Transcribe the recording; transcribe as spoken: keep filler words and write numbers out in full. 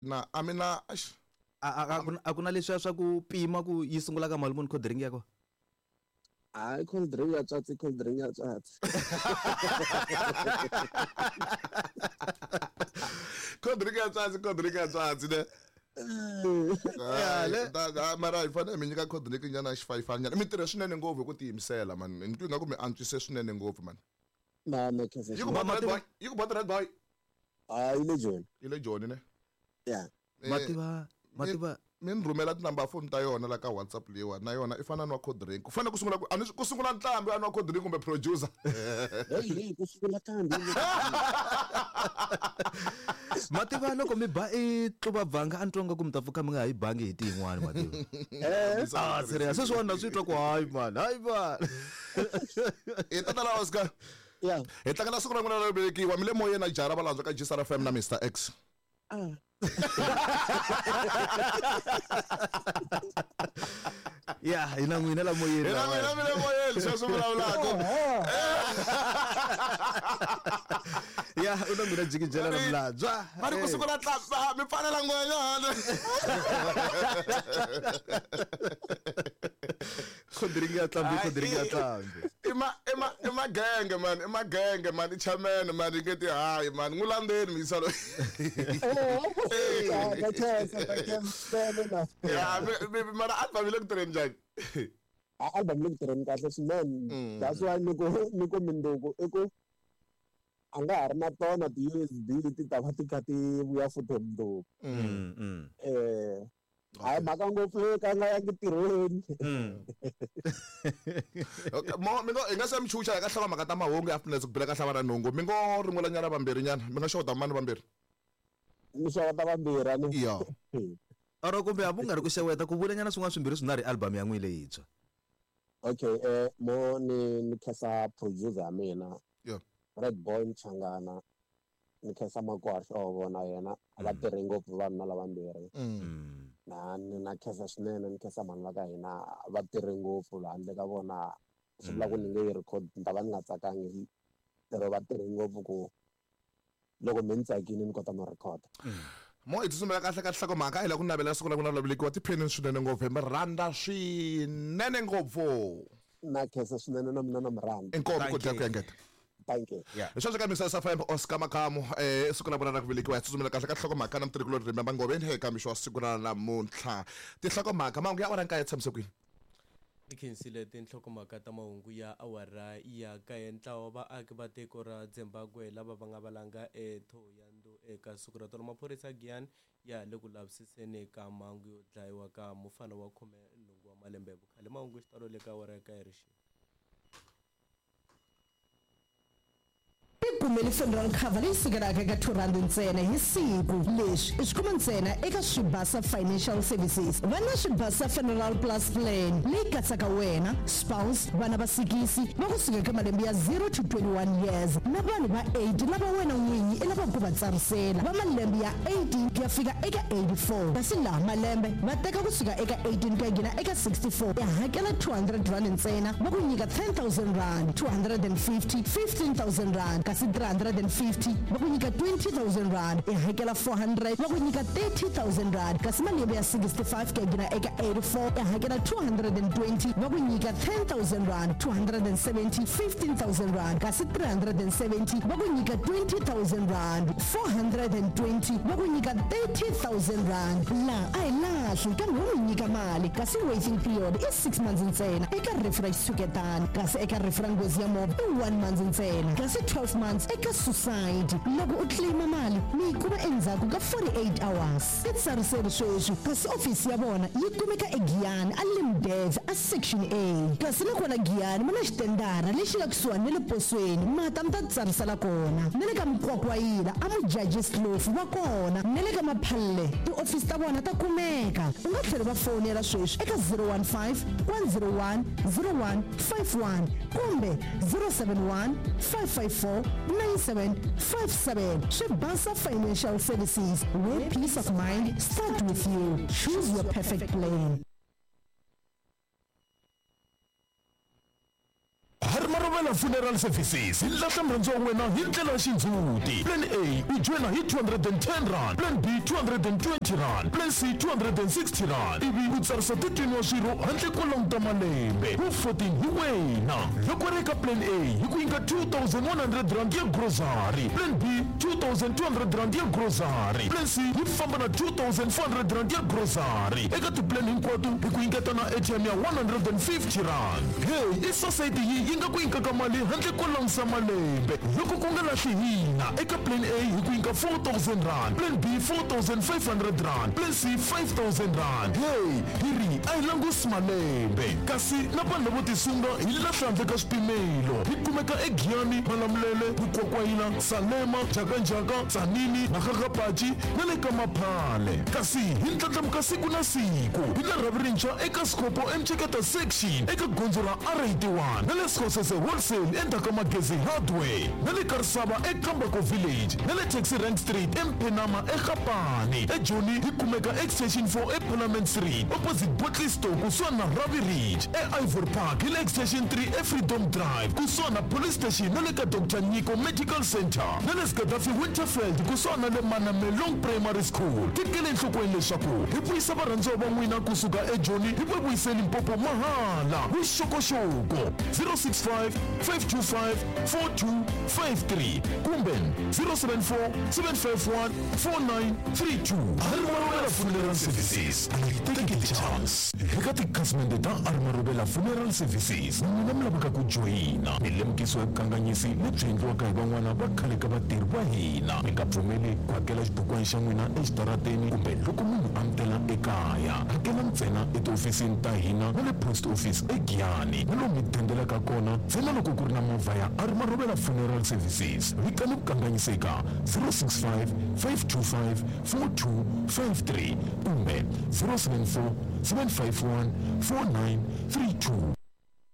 Na a mina eish. A a a ku na leswiya swa ku pima ku yi sungula ka mali muni cold drink ya kona? Hayi, cold drink ya tswatsi, cold drink ya tswatsi. Cold drink ya tswatsi, cold drink ya tswatsi ne. Ya le Da mara hi fanele mi nyika cold drink nyana xifayifani nyana. Mi tirhe swinene ngopfu hi ku tiyimisela man. Ni twi ingaku mi antswise swinene ngopfu man. Na na khensa. Yi ku bota red boy, yi ku bota red boy. Ah, yi le Joni. Yi le Joni ne. Yeah. Mativa mativa mi ni rhumela tinumber phone ta yona la ka WhatsApp leyiwa na yona i fana nwa cold drink. Ku fanele ku sungula ku a ni ku sungula ntlhambi a nwa cold drink kumbe producer. Hey, hey, ku sungula ntlhambi. Mativa loko mi ba i tluva bvanga a ni twa nga ku mi ta pfuka mi nga ha yi bangi hi tiyin'wani mativa. Eh, ah, serious sweswiwani na swi twa ku hayi man, hayi man. I tata la Oscar. Yeah. Hi tlangela siku ra n'wina ro velekiwa mi le moyeni na Jara Valandzwa ka G S R F M na Mister X. Ah. Ya, hi na n'wina la moyeni. Hi na n'wina mi le moyeni sweswi vulavulaka. Ya, u na n'wina jikijela na Mulandzwa. Va ri ku sungula tlamba mi pfalela ngwenyana. Cold drink ya tlambi, cold drink ya tlambi. I ma i ma i magenge man, i magenge man, i chairman man, i nge ti hayi man, n'wi landzeni mi yisa loyi. Ya, mara album yi le ku tirheni njhani? A album le ku tirheni kahle swinene. That's why ni ku ni ku minduku i ku a nga ha ri na tona ti-U S B ti ta va ti kha ti vuya futhi minduku. Eh hayi mhaka ngopfu ka nga yangi ntirhweni. Okay, mo mi ngo hi nga se mi chucha hi ka hlava mhaka ta mahungu ya afternoon ku bela ka hlava na nhungu. Mi ngo rin'wela nyana vambirhi nyana, mi nga xota mani vambirhi? Mi xota vambirhi ani. Iya. Oro kumbe a ku nga ri ku xeweta ku vula nyana swin'wana swimbirhi swinharhu album ya n'wina leyintshwa. Okay, eh mo ni ni khensa producer ya mina. Yeah. Red Boy Mchangana. Ni khensa Makwasho na yena a va tirhi ngopfu vanhu na lavambirhi. Na ni na khensa swinene ni khensa vanhu va ka hina va tirhe ngopfu handle ka vona swi vula ku ni nge yi record ni ta va ni nga tsakangi lero va tirhe ngopfu ku loko mi ni tsakile ni kota no record. Mo hi tsutsumela kahle ka nhlokomhaka hi la ku navela siku ra n'wina ra velekiwa tiphenini swinene ngopfu hi mi rhandza swinene ngopfu. Na khensa swinene na mina na mi rhandza. Inkomu ku dya ku engeta. Thank you. Yeah. Sweswi ka Mister S F M Oscar Makamu eh siku ra vona ra ku velekiwa hi tsutsumela kahle ka nhlokomhaka na mutirhikulori Remember Ngoveni eka mixo wa siku ra namuntlha. Tinhlokomhaka mahungu ya awara nkaye tshamise kwini? I khensile tinhlokomhaka ta mahungu ya awara ya kaye. Ntlawa vaaki va tiko ra Zimbabwe lava va nga valanga eThohoyandou eka siku ra tolo. Maphorisa Giyani ya le ku lavisiseni ka mhangu yo dlayiwa ka mufana wa khume nhungu wa malembe hi vukhale. Mahungu xitalo le ka awara ya kaye rixi. Kumele funeral cover leyi sukelaka eka two rand ntsena hi siku. Leswi i swi kuma ntsena eka Swibasa Financial Services. Va na Swibasa Funeral Plus Plan leyi katsaka wena, spouse, vana va sikisi va kusuka eka malembe ya zero to twenty-one years na vanhu va eight lava wena n'winyi i lavaka ku va tsarisela va malembe ya eighteen ku ya fika eka eighty-four. Kasi laha malembe va teka kusuka eka eighteen ku ya nghena eka sixty-four. Ya hakela two hundred rand ntsena va ku nyika ten thousand rand, two hundred and fifty, fifteen thousand rand. Kasi three hundred and fifty va ku nyika twenty thousand rand, i hakela four hundred va ku nyika thirty thousand rand. Kasi malembe ya sixty-five ku ya nghena eka eighty-four i hakela two hundred and twenty va ku nyika ten thousand rand, two hundred and seventy, fifteen thousand rand. Kasi three hundred and seventy va ku nyika twenty thousand rand, four hundred and twenty va ku nyika thirty thousand rand. La a hi lahli kambe wo mi nyika mali kasi waiting period i six months ntsena eka rifu ra xitshuketana, kasi eka rifu ra nghozi ya movha i one month ntsena, kasi twelve months eka suicide. Loko u claima mali mi yi kuma endzhaku ka forty-eight hours. I tsariseri sweswi kasi ofisi ya vona yi kumeka eGiyani a Limdev a section A. Kasi nakona Giyani mi na xitendara lexi nga kusuhani na le posweni, mata mi ta tsarisela kona. Na le ka Mkwakwayila a Mujudges Kloof va kona, na le ka Maphalle tiofisi ta vona ta kumeka. U nga tlhela va fonela sweswi eka zero one five, one zero one, zero one five one kumbe zero seven one, five five four, nine seven five seven. Swibasa Financial Services, where peace of mind start with you. Choose your perfect plan. Har marovela Marobela Funeral Services hi lahla murhandziwa wa wena hi ndlela ya xindzhuti. Plan A u joyina hi two hundred and ten rand, Plan B two hundred and twenty rand, Plan C two hundred and sixty rand, ivi u tsarisa thirteen wa swirho handle ko languta malembe. Wu fourteen hi wena. Loko ri eka Plan A hi ku nyika two thousand one hundred rand ya grocery, Plan B two thousand two hundred rand ya grocery, Plan C yi famba na two thousand four hundred rand ya grocery. Eka tiplan hinkwato hi ku nyiketa na A T M ya one hundred and fifty rand. Hey, i society yi yi nga ku nyikaka mali handle ko langusa malembe. Loko ku nga lahli hina, eka Plan A hi ku nyika four thousand rand, Plan B four thousand five hundred rand, Plan C five thousand rand. Hey, hi ri a hi langusi malembe. Kasi na vanhu lavo tisunga hi lahla handle ka swipimelo. Hi kumeka eGiyani, Malamulele, Mukwakwayila, Salema, Jakanjaka, Tzaneen, Makgakgapachi na le ka Maphale. Kasi hi ndlandlamuka siku na siku. Hi na rhavi rintshwa eka Sikopo eMtsheketa section eka gondzo ra R eighty-one na le Sekgosese Wholesale endzhaku ka Magezi Hardware na le Karisava eKambako Village na le Taxi Rank Street eMphenama eGapane. eJoni hi kumeka Extension four eParliament Street opposite Bottle Store kusuhani na Ravi Ridge. E-Ivory Park hi le Extension three eFreedom Drive kusuhani na Police Station na le ka Doctor Nyiko Medical Center na le Gaddafi Winterfeld kusuhani na le Manamelong Primary School. Tekele enhlokweni leswaku hi vuyisa varhandziwa va n'wina kusuka eJoni hi va vuyise Limpopo mahala. Vuxokoxoko zero six five, five two five, four two five three kumbe zero seven four, seven five one, four nine three two. Marobela Funeral Services, a yi tekeli chance. Eka tikhasimende ta Marobela Funeral Services, n'wina mi lavaka ku joyina mi lemukisiwa hi vukanganyisi lebyi endliwaka hi van'wana va khale ka vatirhi va hina. Mi nga pfumeli ku hakela xibukwana xa n'wina exitarateni kumbe loko munhu a mi tela ekaya. Hakela ntsena etihofisini ta hina na le post office eGiyani na lomu mi dendelaka kona ntsena loko ku ri na movha ya Marobela Funeral Services. Vitani vukanganyisi eka zero six five, five two five, four two five three kumbe zero seven four, seven five one, four nine three two.